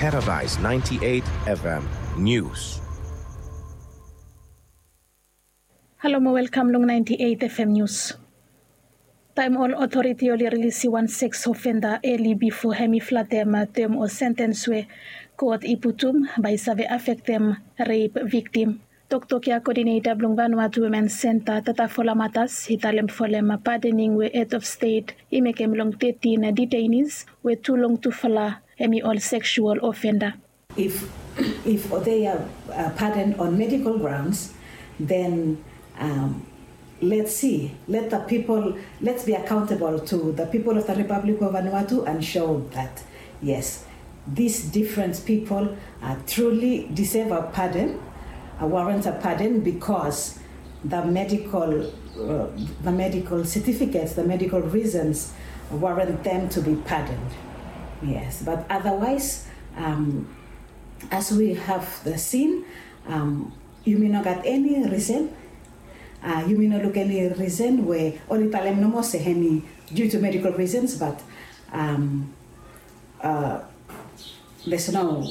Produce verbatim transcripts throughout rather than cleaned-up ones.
Paradise ninety-eight F M News. Halo mo welkam long ninety-eight F M News. Taem ol otoriti oli rilisi wan seks ofenda eli bifo hem i flatem tem o sentens we kot i putum bae i save afektem rep viktim. Toktok ya koodineta blong Vanuatu Women Senta, Tatafola Matas, i talem folem padening we hed of stet i mekem long tetin detainis we tu long tufala hem i ol seksual ofenda. If if they are pardoned on medical grounds, then let's see, let the people, let's be accountable to the people of the Republic of Vanuatu and show that yes, these different people truly deserve a pardon, warrant a pardon because the medical the medical certificates, the medical reasons warrant them to be pardoned. Yes, but otherwise, as we have seen, yumi no gat eni risen, yumi no luk eni risen we oli talem nomo se hemi due to medical reasons, but there's no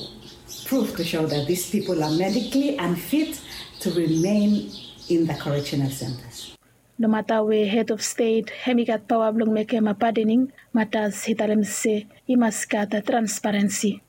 proof to show that these people are medically unfit to remain in the correctional centers. Nomata we hed of stet hem i gat paoa blong mekem padening, Matas i talem se i mas gat transparensi.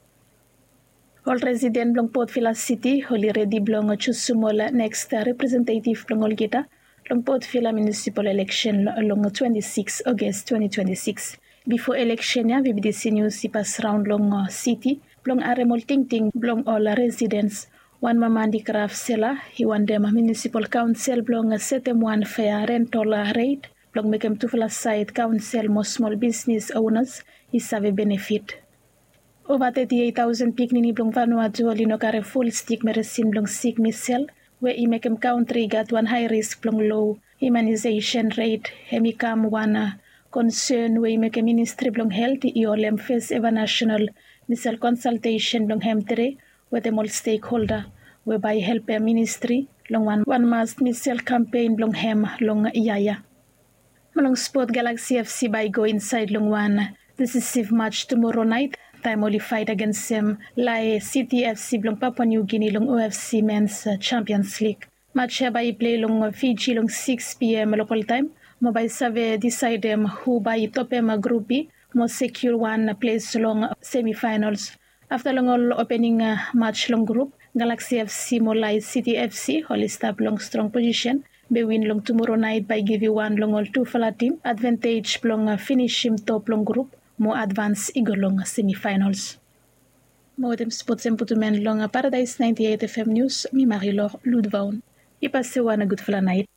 Ol residen blong Port Vila Siti oli redi blong jusum ol neks representetiv blong olgeta long Port Vila munisipal eleksen long twenti sikis Oges twenti twenti sikis. Bifo eleksen ya, VBTC Nius i pas raon long siti blong harem ol tingting blong ol residens. Wan mama andikraf sela i wantem munisipal kaonsel blong setem wan fea rentol ret blong mekem tufala saed kaonsel mo smol bisnis onas i save benefit. Ova teti eit taosen pikinini blong Vanuatu oli no karem ful stik meresin blong sik misel we i mekem kantri i gat wan hae risk blong lo imanisesen ret. Hem i kam wan konsen we i mekem ministri blong helt i holem fes eva nasenal misel konsaltesen blong hem tede wetem ol stekholda we bae i helpem ministri long wan wan mas misel kampen blong hem long yia ya. Mo long spot, Galaksi FC bae i go insaed long wan disisiv maj tumoro naet taem oli faet agensem Lae Siti FC blong Papua Niu Gini long OFC Mens Champions Lig. Maj ya bae i plei long Fiji long sikis piam lokaltaem mo bae i save disaedem hu bae i topem Grup B mo sekiua wan ples long semifaenols. Afta long ol opening maj long grup, Galaksi FC mo Lae Siti FC oli stap long strong posisen. Be win long tumoro naet bae i givim wan long ol tufala tim advantej blong finisim top long grup mo advans i go long semifaenols. Mo wetem spots em putum en long Paradaes naenti eit FM Nius, mi Marilor Ludvaon. I pasem wan gudfala naet.